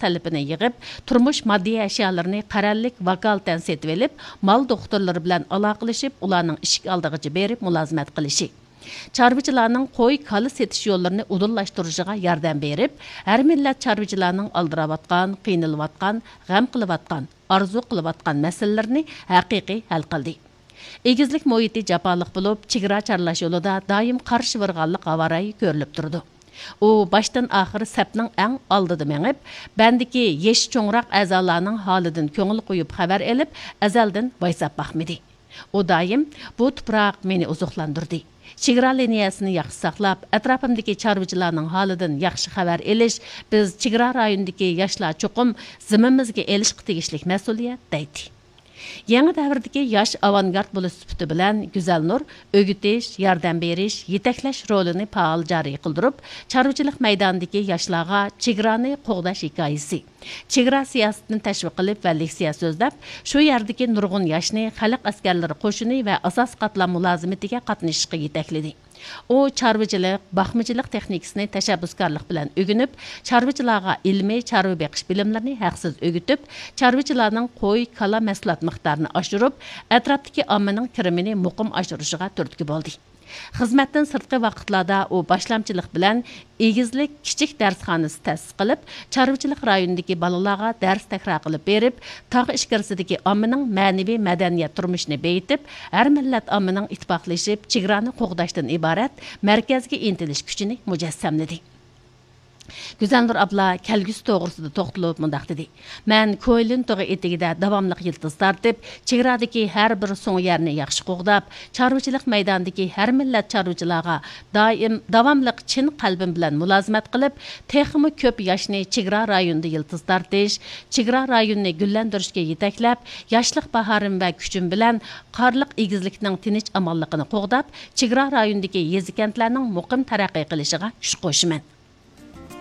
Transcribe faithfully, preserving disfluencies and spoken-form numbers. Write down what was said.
تەلىپىنى يىغىپ، تۇرمۇش ماددىي ئەشيالىرىنى قەرەللىك ۋاكالىتەن سېتىۋېلىپ، مال دوختۇرلىرى بىلەن ئالاقىلىشىپ، ئۇلارنىڭ ئىشىك ئالدىغىچە بېرىپ مۇلازىمەت قىلىشى. چارۋىچىلارنىڭ قوي، كالا سېتىش يوللىرىنى ئۇدۇللاشتۇرۇشىغا ياردەم بېرىپ، ھەر مىللەت چارۋىچىلارنىڭ ئالدىراۋاتقان، قىينىلىۋاتقان، غەم قىلىۋاتقان، ئارزۇ قىلىۋاتقان مەسىلىلىرىنى ھەقىقىي ھەل قىلدى. ئېگىزلىك مۇھىتى جاپالىق بولۇپ، چېگرا چارلاش يولىدا دائىم قارشى بارغانلىق ھاۋارايى كۆرۈلۈپ تۇرىدۇ. ئۇ باشتىن ئاخىر سەپنىڭ ئەڭ ئالدىدا مېڭىپ، بەندىكى يېشى چوڭراق ئەزالارنىڭ ھالىدىن كۆڭۈل قويۇپ خەۋەر ئېلىپ، ئەزەلدىن ۋايساپ باقمىدى. ئۇ دائىم، «بۇ تۇپراق مېنى ئوزۇقلاندۇردى. چېگرا لىنىيەسىنى ياخشى ساقلاپ، ئەتراپىمدىكى چارۋىچىلارنىڭ ھالىدىن ياخشى خەۋەر ئېلىش بىز چېگرا رايونىدىكى ياشلار چوقۇم زىممىمىزگە ئېلىشقا تېگىشلىك مەسئۇلىيەت» دەيتتى. يېڭى دەۋردىكى ياش ئاۋانگارت بولۇش سۈپىتى بىلەن گۈزەلنۇر ئۆگىتىش، ياردەم بېرىش، يېتەكلەش رولىنى پائال جارى قىلدۇرۇپ، چارۋىچىلىق مەيدانىدىكى ياشلارغا چېگرانى قوغداش ھېكايىسى، چېگرا سىياسىتىنى تەشۋىق قىلىپ ۋە لېكسىيە سۆزلەپ، شۇ يەردىكى نۇرغۇن ياشنى خەلق ئەسكەرلىرى قوشۇنى ۋە ئاساسىي قاتلام مۇلازىمىتىگە قاتنىشىشقا يېتەكلىدى. ئۇ چارۋىچىلىق، باقمىچىلىق تېخنىكىسىنى تەشەببۇسكارلىق بىلەن ئۆگىنىپ، چارۋىچىلارغا ئىلمىي چارۋا بېقىش بىلىملىرىنى ھەقسىز ئۆگىتىپ، چارۋىچىلارنىڭ قوي، كالا مەھسۇلات مىقدارىنى ئاشۇرۇپ، ئەتراپتىكى ئاممىنىڭ كىرىمىنى مۇقىم ئاشۇرۇشىغا تۈرتكە بولدى. خىزمەتتىن سىرتقى ۋاقىتلاردا ئۇ باشلامچىلىق بىلەن ئېگىزلىك كىچىك دەرسخانىسى تەسىس قىلىپ، چارۋىچىلىق رايونىدىكى بالىلارغا دەرس تەكرار قىلىپ بېرىپ، تاغ ئىچكىرىسىدىكى ئاممىنىڭ مەنىۋى مەدەنىيەت تۇرمۇشىنى بېيىتىپ، ھەر مىللەت ئاممىنىڭ ئىتتىپاقلىشىپ، چېگرانى قوغداشتىن ئىبارەت مەركەزگە ئىنتىلىش كۈچىنى مۇجەسسەملىدى. گۈزەلنۇر ئابلا كەلگۈسى توغرىسىدا توختىلىپ مۇنداق دېدى: «مەن كويلىن تۇغى ئېتىكىدە داۋاملىق يىلتىز تارتىپ، چېگرادىكى ھەر بىر سۇڭ يەرنى ياخشى قوغداپ، چارۋىچىلىق مەيدانىدىكى ھەر مىللەت چارۋىچىلارغا دائىم داۋاملىق چىن قەلبىم بىلەن مۇلازىمەت قىلىپ، تېخىمۇ كۆپ ياشنى چېگرا رايونىدا يىلتىز تارتىش، چېگرا رايونىنى گۈللەندۈرۈشكە يېتەكلەپ، ياشلىق باھارىم ۋە كۈچۈم بىلەن قارلىق ئېگىزلىكنىڭ تىنچ-ئامانلىقىنى قوغداپ، چېگرا رايونىدىكى يېزا-كەنتلەرنىڭ مۇقىم تەرەققىي قىلىشىغا كۈچ قوشىمەن.»